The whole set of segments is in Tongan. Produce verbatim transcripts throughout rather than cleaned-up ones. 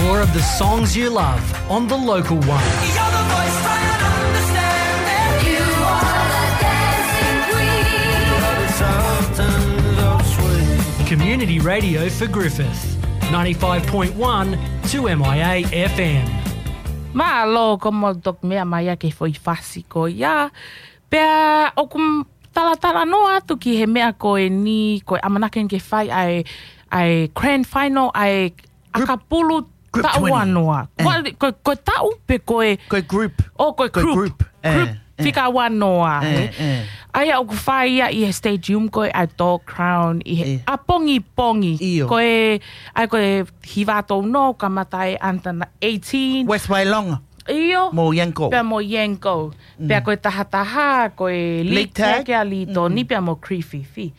More of the songs you love on the local one. You're the voice I understand. You are the dancing queen. Community radio for Griffith, ninety-five point one two M I A F M. Mālō, ko mo tok mea mai ake foʻi fasi ko ia. Pea ʻoku m-, talatala noa atu ki he meʻa ko eni, ko e ʻamanaki ke fai ʻa e, ʻa e grand final, ʻa e ʻakapulu taʻu ua noa. Ko, ko, ko e taʻu pe ko e, ko e group. ʻO ko e group. Group fika ua noa, ē. ʻA ia ʻoku fai ia ʻi he stadium ko e ʻa e Dog Crown ʻi he ʻapongipongi. ʻIo. Ko e, ʻa ia ko e hiva tau no kamata e under eighteen. West Wailonga. ʻIo. Mo Yanco. Pea mo Yanco. Pea ko e tahataha, ko e League Tag, League Tag, ʻa Litoni, pea mo Griffith.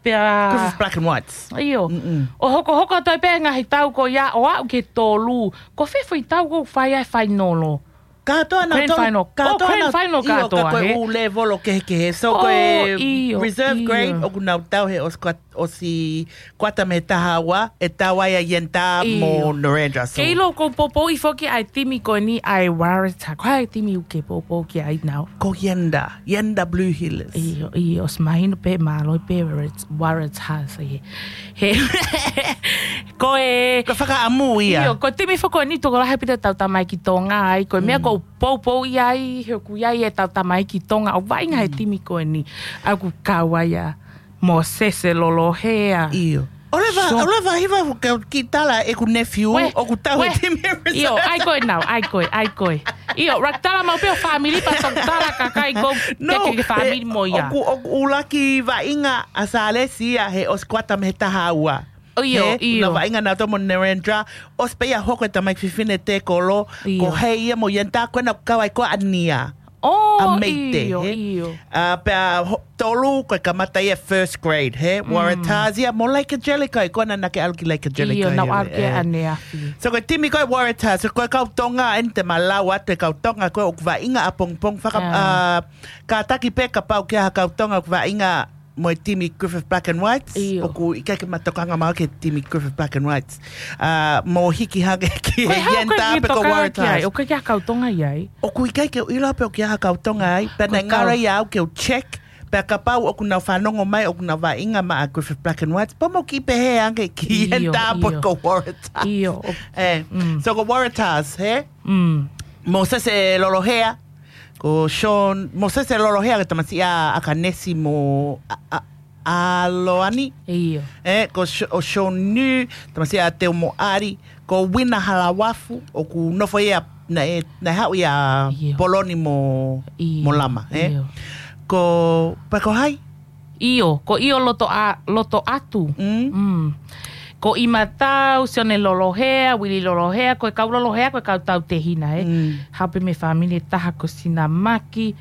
Pea Griffith Black and Whites. ʻIo. ʻO hokohoko atu ai pē ngaahi tau ko ia ʻo aʻu ki he tolu. Ko fē foʻi tau ʻoku fai ai e fainolo? Kātoa nau tau. Grand final. Kātoa nau, ʻio, kātoa ko e ʻū level ʻo kehekehe. So ko e reserve grade ʻoku nau tau he ʻosi kuata, ʻosi kuata mei he taha ua, ʻe tau ai ʻa Yenta mo Narendra. So ke ʻilo ʻoku ou poupouʻi foki ʻa e timi ko eni ʻa e Waratahs. Ko e hā e timi ʻoku ke poupou ki ai now? Ko Yenta, Yenta Blue Heelers. ʻIo, ʻio, ʻosi mahino pē mālō pē Warat-, Waratahs ē. He, ko e, ko e fakaʻamu ia. ʻIo, ko e timi foki ko eni tokolahi pē ʻetau tamaiki Tonga ai, ko e meʻa ʻoku ou poupouʻi ai, he ʻoku ʻi ai ʻetau tamaiki Tonga ʻoku vaʻinga he timi ko eni, ʻa ʻoku kau ai ʻa Mosese Lolohea. ʻIo. ʻOleva, ʻoleva hiva ke u kiʻi tala ʻeku nephew, ʻoku tau he timi reserve. ʻIo, ʻai koe now, ʻai koe, ʻai koe. ʻIo, ʻuluaki tala maʻu pē ʻo family pea toki tala kakai ko ke, ke family mo ia. ʻOku, ʻoku ʻuluaki vaʻinga ʻa Salesi ia he ʻosi kuata mei he taha ua. ʻIo, ʻio. Nau vaʻinga nautolu mo Narendra, ʻosi pē ia hoko e tamaiki fefine tēkolo, ko Hei ia mo Yenta ko ena ʻoku kau ai ko ʻa Nia. ʻA Meite, ʻio, ʻio. Pea tolu ko e kamata ia first grade, he? Waratahs ia mo Lake Angelico, ko ena naʻa ke ʻalu ki Lake Angelico. ʻIo, naʻa ku ʻalu ki ʻaneafi. So ko e timi ko e Waratahs, so ko e kau Tonga, ʻeni te ma lau atu e kau Tonga, ko e ʻoku vaʻinga ʻapongipongi faka-, kātaki pē kapau ʻoku ʻi ai ha kau Tonga ʻoku vaʻinga mo e timi Griffith Black and Whites, ʻoku ʻikai ke ma tokanga maʻu ki he timi Griffith Black and Whites. Mo hiki hake ki he Yenta pe ko Waratahs. ʻOku ʻikai ke u ʻilo pe ʻoku ʻi ai ha kau Tonga ai. Pea naʻe ngalo ia au ke u check. Pea kapau ʻoku nau fanongo mai, ʻoku nau vaʻinga maʻa Griffith Black and Whites, pea mo kiʻi pehē ange ki Yenta pe ko Waratahs. ʻIo. So ko Waratahs, he? Mosese Lolohea, ko Sean, Mosese Lolohea ko e tamasiʻi ʻa ʻAkanesi mo ʻa, ʻa, ʻAloani. ʻIo. Ko Sh-, ʻo Sean New, tamasiʻi ʻa Teumoʻali, ko Wina Halawafu, ʻoku nofo ia, naʻe, naʻe haʻu ia Poloni mo, mo Lama, ʻe? Ko, pe ko hai? ʻIo, ko ʻIo Loto a-, Loto Atu. Ko ʻImatau, Sione Lolohea, Wili Lolohea, ko e kau Lolohea, ko e kau tautehina, ʻe. Hape mei he family ʻe taha ko Sinamaki,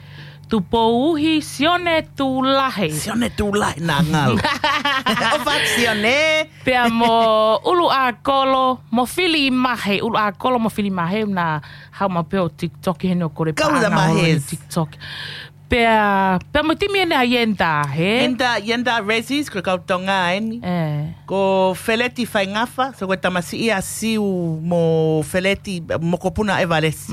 Tupouhi, Sione Tulahe. Sione Tulahe naʻa ngalo. ʻOfa Sione. Pea mo ʻUluʻakolo, mo Filimahe, ʻUluʻakolo mo Filimahe, naʻa haʻu maʻu pē ʻo TikTok heni ʻo kole pā na holo ni TikTok. Pea, pea mo e timi ʻeni ʻa Yenta, he? Yenta, Yenta Rezzies, ko e kau Tonga ʻeni. Ko Feleti Faingafa, so ko e tamasiʻi ʻa Siu mo Feleti, mokopuna ʻa Evalesi.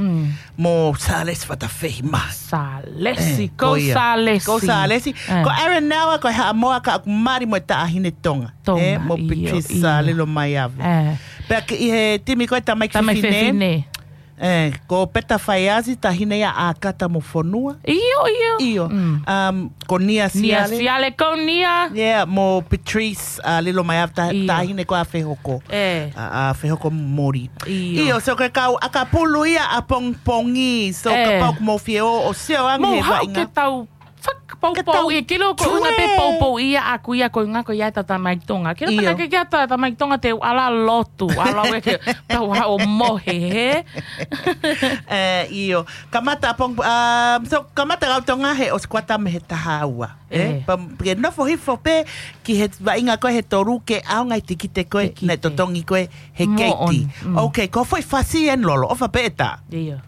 Mo Salesi Fatafehi ma. Salesi, ko Salesi. Ko Salesi. Ko Aaron Naua, ko e Haʻamoa ka ʻoku mali mo e taʻahine Tonga. Mo Patrice Lilomaiava. Pea ki he timi ko e tamaiki fefine. Ko Peta Faiazi, taʻahine ia ʻa ʻAkata mo Fonua. ʻIo, ʻio. ʻIo. Ko Nia Siale. Nia Siale, ko Nia. Yeah, mo Patrice, ʻa Lilomaiava, taʻahine ko ʻa Fehoko. ʻA, ʻa Fehoko Mori. ʻIo. ʻIo, so ko e kau ʻakapulu ia ʻapongipongi, so kapau ʻoku mou fie ō, ʻo sio ange he vaʻinga. Mou haʻu ke tau fakapoupou ia, ke ʻilo ko e ʻuhinga pē poupou ia ʻaku ia ko e ʻuhinga ko ia ʻetau tamaiki Tonga. Ke ʻilo pē ke ʻi ai ha tamaiki Tonga te u ʻalu ʻo lotu, ʻalu ʻo ʻeke, tau haʻu ʻo mohe, he? ʻIo. Kamata ʻapong-, so kamata kau Tonga he ʻosi kuata mei he taha ua, ʻe? Pea ke nofo hifo pē ki he vaʻinga ko e he tolu ke ʻaonga e tikite ko e, naʻe totongi ko e he keiti. Okay, ko e foʻi fasi ʻeni Lolo, ʻofa pē ʻe tā. ʻIo.